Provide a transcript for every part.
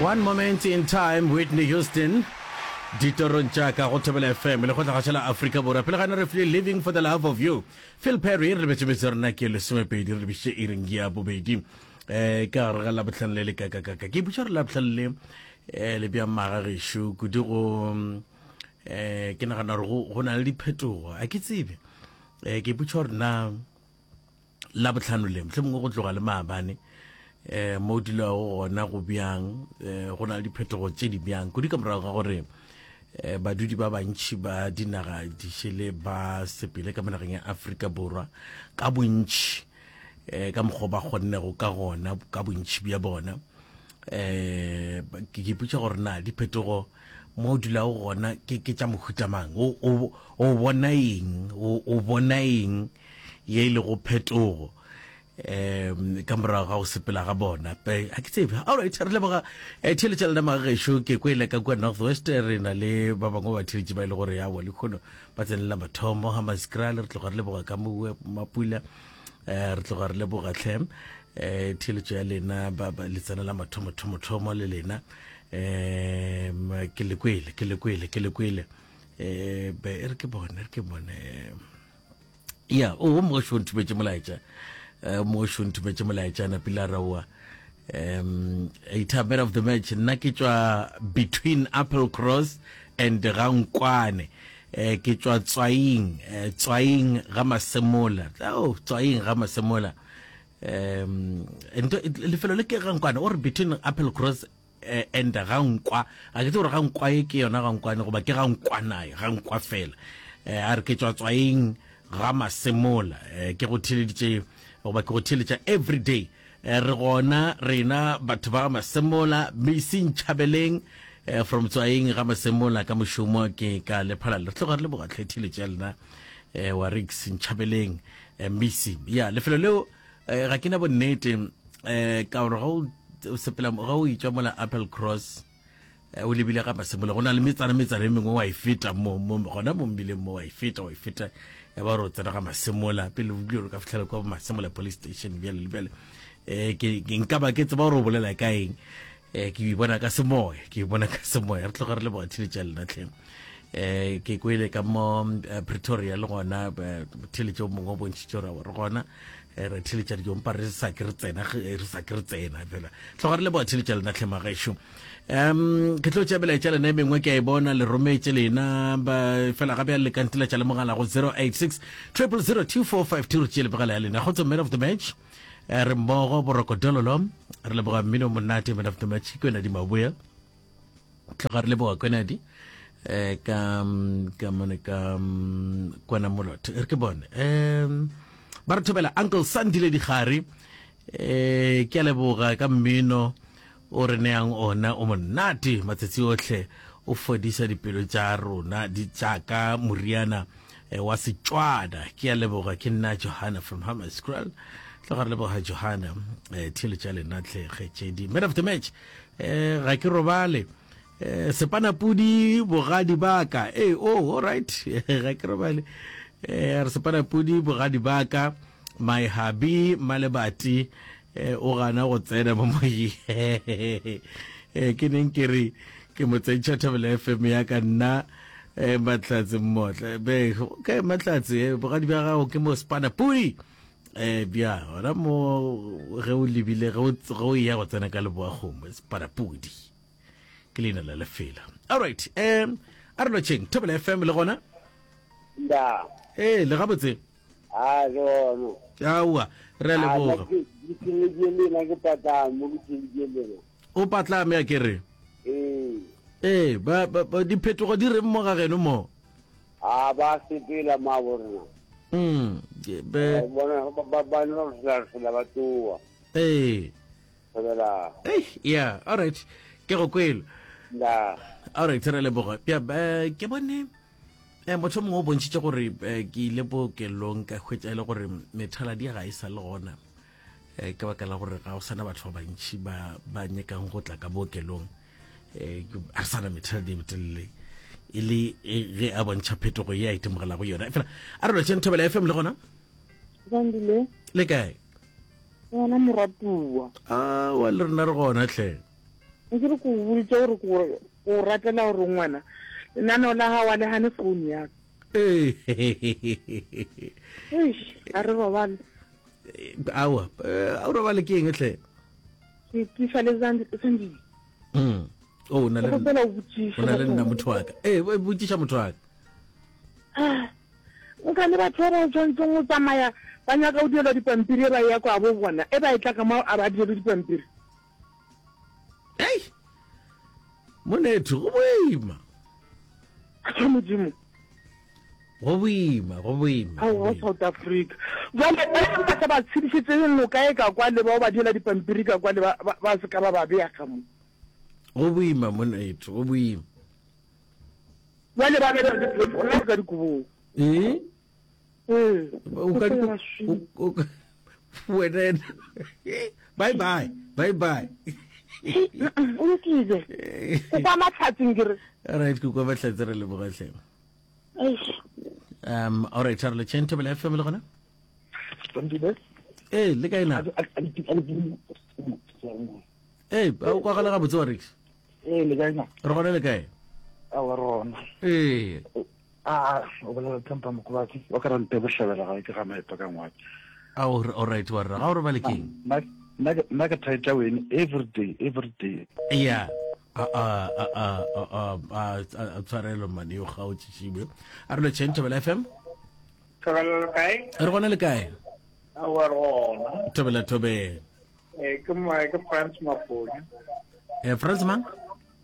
One Moment in Time, Whitney Houston, ditorong tša ka go Thobela FM, lekgotlagašo la Afrika Borwa. Pele ga ne re file Living for the Love of You. Phil Perry, re lebetše metse rena ke lesomepedi, re lebišitše iring ya bobedi. Eh, ka gare ga Labohlano le le kakakaka. Ke ipotša gore Labohlano le eh, le bjang magagešo kudu go eh, ke nagana gore go, go na le diphetogo. A ke tsebe. Eh, ke ipotša gore na Labohlano le, mohlomongwe go tloga le maabane, um mo o dulago gona go bjang, um go na le diphetogo tše di bjang, kudu ka morago ga gore um badudi ba bantši ba dinaga dišele ba sepele ka mo nageng ya Afrika Borwa ka bontši, um ka mokgwa ba kgonnego ka gona, ka bontši bja bona. Um ke ipotša gore na diphetogo mo o dulago gona ke ke tša mohuta mang, o, o, o bona eng, o, o bona eng ye e lego phetogo um ka morago ga go sepela ga bona. Ga ke tsebe. Alright, re leboga eh, theeletša lena magagešo. Ke kwele ka kua North West re na le ba bangwe ba theeletši ba e le gore yawa lekgono ba tsenelela mathomo ga Maskrale. Re tloga re leboga ka mowe Mapula, um re tloga re leboga tlhe um theeletšo ya lena ba le tsenela mathomo thomo thomo le lena. Um ke le kwele, ke le kwele, ke le kwele. Um be e re ke bone, re ke bone. Ya o mogoši o nthumetše molaetša, eh, mogoši o nthumetše molaetša napile a raoa um a man of the match. Nna ke tšwa between Apple Cross and Gankwane, eh, ke tšwa Tswaing, eh, Tswaing ga Masemola. Oh, Tswaing ga Masemola, um nto lefelo le ke Gankwane, o re between Apple Cross Eh, and ga nkwa, ga ke tsebe gore ga nkwa e ke yona ga nkwane goba ke ga nkwanae, ga nkwa fela. Eh, a re ke tšwa Tswaing ga Masemola. Eh, ke go theeleditše goba ke go theeletša every day. Eh, re gona rena batho ba ga Masemola, Misi Ntšhabeleng, eh, from Tswaing ga Masemola ka mošomo ke ka Lephalale. Re tloga re leboga tlhe theeletša ya lena, eh, wa Rix Ntšhabeleng, eh, Misi. Ya, lefelo leo Eh, ga ke na bonnete eh, ka gore ga o sepela ga o itšwa mola Apple Cross eh, o lebile ga Masemola, go na le metsana metsana e mengwe wa e feta mo mo gona mo mbileng mo wa e feta wa e feta ya ba gore o tsena ga Masemola pele o bile o ka fitlhela kwa Masemola police station bjale le bjale. Eh, ke ke nka ba ke tseba gore o bolela ka eng, eh, ke bona ka semoya, ke bona ka semoya. Re tloga re leboga theletša lena tlhe. Eh, ke kwele ka mo eh, Pretoria le gona eh, theletše o mongwe o bontšhitše gore re gona eh, re theletša dijo mpa re sa ke re tsena re sa ke re tsena fela. Tloga re leboga theletša lena tlhe magešo. Um ke tlo tšea melaetša lena e mengwe ke a e bona le rometše lena ba fela gape le ka nteletša le mogala go 086 000 2452 re tšee lebegela ya lena. Kgotso man of the match, eh, re mmogo boroko dololo, re leboga mmino monate man of the match ke wena di maboya. Tloga re leboga kwenadi eh ka ka mone ka kwana molotho re ke bone um ba re thobela Uncle Sandile Digare, eh ke a leboga ka mmino o re neang ona o monate matsatsi ohle, o fodisa dipelo tša rona di tšaka moriana eh, wa Setswana. Ke a leboga, ke nna Johanna from Hammanskraal. Tloga re leboga Johanna, eh, theeletša lena tlhe kgetšedi. Man of the match, eh, ga ke robale eh, sepanapudi bogadi baka. Ee, oh, all right ga ke robale eh, re sepanapudi bogadi baka my hubby Malebati eh, o gana go tsena mo moyeng. Eh, ke neng ke re ke mo tsentšha Thobela FM ya ka nna eh, Mahlatse Mmotla be okay Mahlatse eh, bogadi bja gago ke mo sepanapudi eh bja gona mo ge o lebile ge o eya go tsena ka leboa kgomo sepanapudi ke leina la lefela. All right, um a re lotšheng Thobela FM le gona. Nda. Ee, le gabotse. A ke gona. Aowa, re a leboga. Ke theleditše lena ke patlame mo ke theleditše lena. O patlame a ke re? Ee. Ee, ba, ba, ba diphetogo di reng mo ga geno mo? A ba sepela ma borena. Mm, be. Bona ba ba ba no re sela ba tsoa. Ee. Thobela. Ei, yeah, all right. Ke go kwele. Nda. All right, re leboga. Ya, eh, ke bone eh, motho mongwe o bontšhitše gore eh, ke ile bookelong ka hwetša e le gore methaladi ga e sa le gona eh, ka baka la gore ga go sana batho ba bantši ba ba nyakang go tla ka bookelong, eh, a re sana methaladi e metelele e le e, ge a bontšha phetogo ye a itemogelago yona. Fela a re lotšheng Thobela FM le gona. Zandile. Le kae? Gona moratuwa. Aowa, le rena re gona tlhe. Nke re ko boditše gore ko o ratela gore ngwana lenaneo la gago a le gane phone ya ka. Ee. Eish, a re robale. Aowa, a o robale ke eng hle? Ke tiša le Sandile. Mm. Oh, o na le o na le nna motho wa ka. Ee, botšiša motho wa ka. Ah, nka le batho ba ba tshwanetseng go tsamaya ba nyaka go direlwa dipampiri e ba ya kwa bo bona e ba e tla ka mo a ba direlwe dipampiri. Ei! Monetho, go boima. Ke Modimo. Go boima, go boima. Aowa, South Africa. Jwale ba ba sa ba tshedišetše noka e ka kwa le bao ba diela dipampiri ka kwa le ba ba se ka ba ba bea ka mo. Go boima monetho, go boima. Jwale ba bela diphefo ka dikobong. Eh? Ee. O ka o ka wena bye bye bye bye. O lokile. O kwa matlhatseng ke re. All right, ke kwa mahlatse re leboga hle. Um all right, re le tšheng Thobela FM le gona? Sandile. Eh, le kae na? Eh, o kwagala gabotse wa Rex. Eh, le kae na? Re gona le kae? Aowa re gona. Ee. A o bolela Tempa Mokobatsi wa ka rante bohlabela ga ke ga maeto ka ngwadi. A o all right wa rra ga o robale keng? Nna nna ke thaetša wene every day every day. Yeah. A a a a a a a tshwarelo mane yo ga o tšišiwe. A re lo tšheng Thobela FM. Thobela le kae? Re gona le kae? Aowa re gona. Thobela thobela. Eh ke mo ke France Maponya. Eh France mang?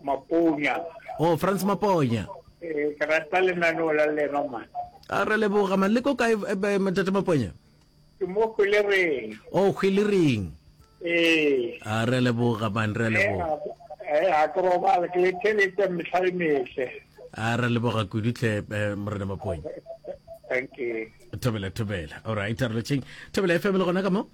Maponya. Oh, France Maponya. Eh, ke rata lenaneo la lena man. A re leboga man. Le ko kae eh, eh, Ntate Maponya? Ke mo Hwilereng. Oh, Hwilereng. Ee. A re leboga man, re leboga. Eh, a ke robale ke le theletša mehla le mehle. A re leboga kudu tle eh, Morena Maponya. Thank you. Thobela thobela. All right, re letšeng. Thobela FM le gona ka mo?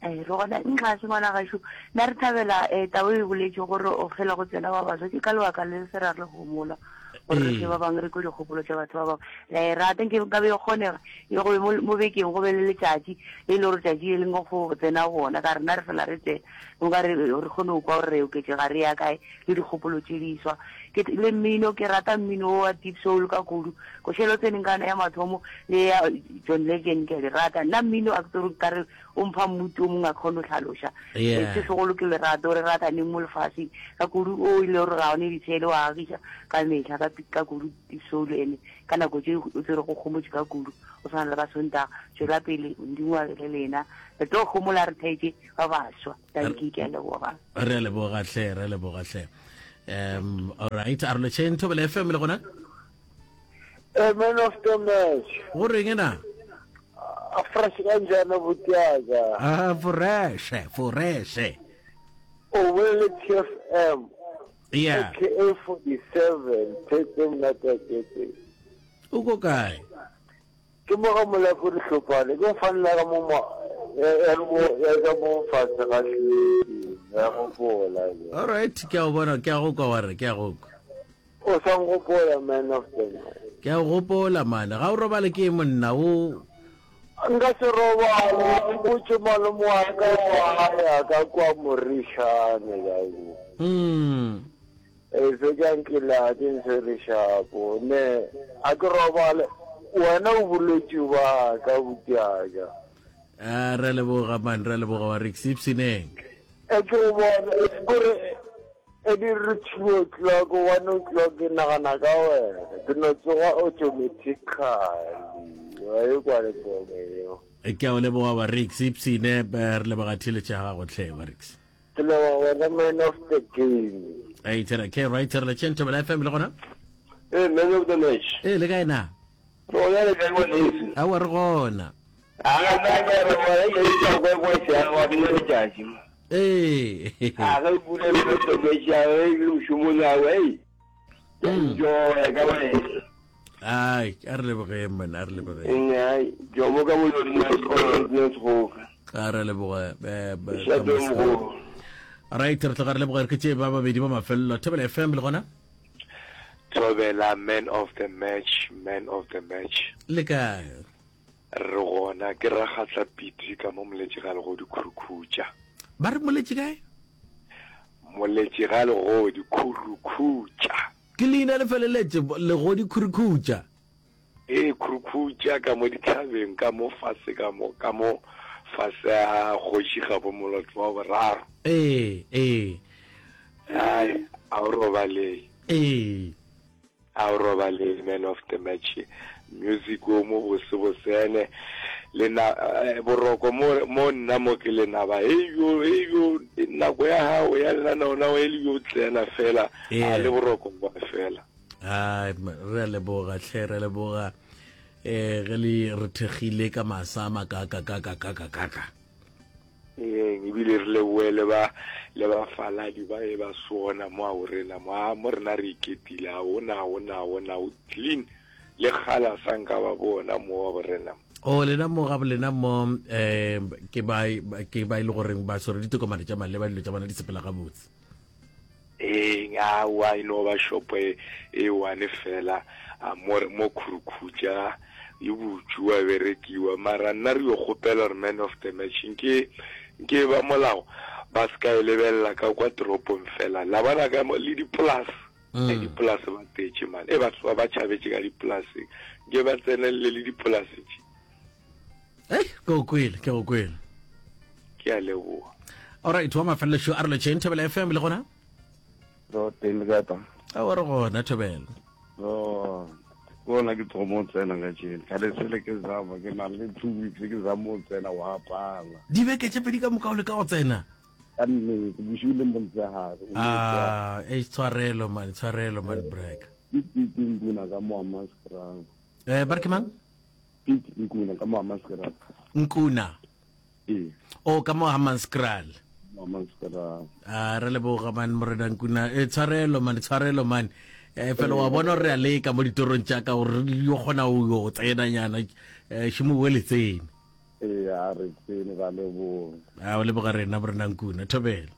Ee, re gona nxa se ngwana gašo nna re thabela um taba e boletše gore o fela go tsena ba baswa ke ka lebaka le se ra re homola gore re fe ba bangwe re kwe dikgopolo tša batho ba bangwe la e rata nke nka be e kgonega e go be mo bekeng go be le letšatši le e le gore tšatši le lengwe go tsena bona ka rena re fela re tsena nka re re kgone go kwa gore re oketšega re ya kae le dikgopolo tše diswa ke le mmino ke rata mmino wa deep soul ka kudu košelo tseneng kana ya mathomo le ya John Legend ke a di rata nna mmino a ke tsore ka re o mpha mmuti o mongwe a kgone go hlaloša Yeah. se segolo ke lerato re rataneng mo lefaseng ka kudu o ile gore ga one ditshele wa agiša ka mehla ka ka kudu deep soul ene ka nako tše o tsere go gomotše ka kudu o tshwana le ba Sontaga tšwela pele Modimo a be le lena re tlo gomola re thaetše ba baswa Dankie, ke a leboga. Re a leboga hle, re a leboga hle. Um, all right, a re lotšheng Thobela FM le gona? A man of the match. Go reng na? A fresh kanjani butiaka? Ah, fresh, fresh. O bolele TFM. Yeah. AKA 47, Thetse Mnata Kete. O ko kae? Ke mo ga Molapo Dihlopane, ke mfanela ka mo ma ya mo ya ka mo fatshe ga hlweki, ya gopola. All right, ke a go bona, ke a go kwa wa re, ke a go kwa. O sa ngopola man of the night. Ke a go gopola man, ga o robale ke monna o. Nka se robale, ke botše malome wa ka wa ya ka kwa Morišane ka kwa. Mm. E fetša nkila ke ntshwere shapo ne a ke robale wena o bolwetši ba ka butiaka. A re leboga man re leboga wa re ipshineng. E ke o bona kore e di re 2 o'clock 1 o'clock ke nagana ka wena ke no tsoga automatically wa e kwa le pone eo. Ke a o leboga wa Rix ipshine re leboga theeletšo ya gago hle wa Rix. Ke leboga wena man of the game. Hey, tsena ke right re le Thobela FM le gona? Eh, man of the match. Eh, le kae na? Re gona le kae ngwaneso? Aowa re gona. A nna ke re bona ke itse go go se a wa bile letšatši. Eh. A ge pula man of the match ya ge le mošomong ya we. Ke enjoy ka wena. Ai, a re lebogeng man, a re lebogeng. Ai, jomo ka molodi na sekolo ne segoga. A re leboge. Eh, Šate mogolo. Right, re tloga re leboga re ke tše ba babedi ba mafelelo. Thobela FM le gona? Thobela man of the match, man of the match. Le kae? Re gona ke ragatla piti ka mo moletše ga le go dikhurukhutša. Ba re moletše kae? Moletši ga legodi khurukhutša. Ke leina le feleletše, legodi khurukhutša. Ee, khurukhutša ka mo dithabeng, ka mo fase ka mo, ka mo fase ga Kgoši Gabo Moloto wa boraro. Ee, ee. Ai, a o robalei. Ee. A o robalei, man of the match. Music o mo bose bosene. Le na, eh, boroko mo, mo nna mo ke lenaba. Hey yo, hey yo, nako ya gago ya lenaneo la e le yo tsena fela. Yeah. A le boroko ba fela. Ai, re a leboga hle, re a leboga. Eh, ge le re thekgile ka masa a makaka kaka kaka kaka. Ee, ebile re leboe le ba le bafaladi ba e ba sona mo a o rena mo a mo rena re iketile a ona ona ona o clean le kgala sa nka ba bona mo wa borena. O lena mo ga lena mo eh ke ba ke ba ile e goreng ba swere ditokomane tša maleba dilo tša bona di sepela gabotse. Ee, aowa e no ba shopo e e one fela a mo mo khurukhutša e butšwe wa berekiwa mara nna re yo kgopela gore man of the match nke nke ba molao ba se ka e lebelela ka kwa toropong fela la bona ka mo le dipolase mm. e dipolase ba tetše man e batho ba ba tšhabetše ka dipolaseng nke ba tsenelele le dipolase tše Ei, ke go kwele, ke go kwele. Ke a leboga. Alright, wa mafelelo šo a re letšeng Thobela FM le gona? Ro teng le kae pa? A wa re gona Thobela. Ro kona ke thomo tsena ka tšene. Ka le sele ke zama ke na le 2 weeks ke zama o tsena wa pala. Dibeke tše pedi ka moka o le ka go tsena. Ka nnete bosigo le motshegare. Ah, e tshwarelo man, tshwarelo man break. Ke ke nkuna ka mo Hammanskraal. Eh, ba re ke mang? Piet Nkuna ka mo Hammanskraal. Nkuna. Ee. O ka mo Hammanskraal. Mo Hammanskraal. A re leboga man morena Nkuna. E tshwarelo man, tshwarelo man. Eh fela wa bona re a leka mo ditorong tša ka gore yo kgona o yo tsena nyana. Eh šimo o le tsene. Ee, a re tsene ra leboga. A o leboga rena morena Nkuna. Thobela.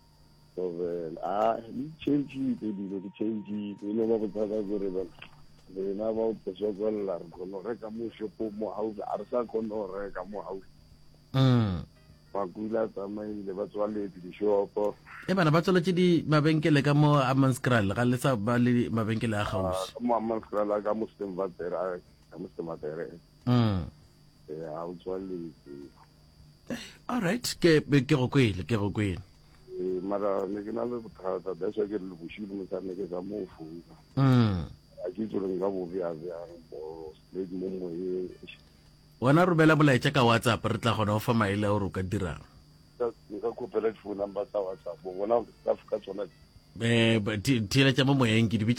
Thobela. A di changeile dilo di changeile. E no ba bothata kore bana rena ba o sokolla re kgone go reka mo shopong mo gaufi a re sa kgone go reka mo gaufi. Mm. Makula a tsamaile ba tswaletse dishopo. E bana ba tswaletše di mabenkele ka mo Hammanskraal ga le sa ba le mabenkele a gaufi. Ka mo Hammanskraal ka mo Stemvater ka mo Stemvater. Mm. E a o tswaletse. All right, ke ke go kwele, ke go kwele. Ee, mara ne ke na le bothata that's why ke re le bošilo mosadi ne ke sa mo founa. Mm. A ke itse gore nka bo bea bjang bo straight mo moyeng. Wena romela molaetša ka WhatsApp re tla kgona go fa maele a gore o ka dirang. Nka kgopela di-phone number tsa WhatsApp bona ka tsona. Eh, theeletša mo moyeng ke di bitša.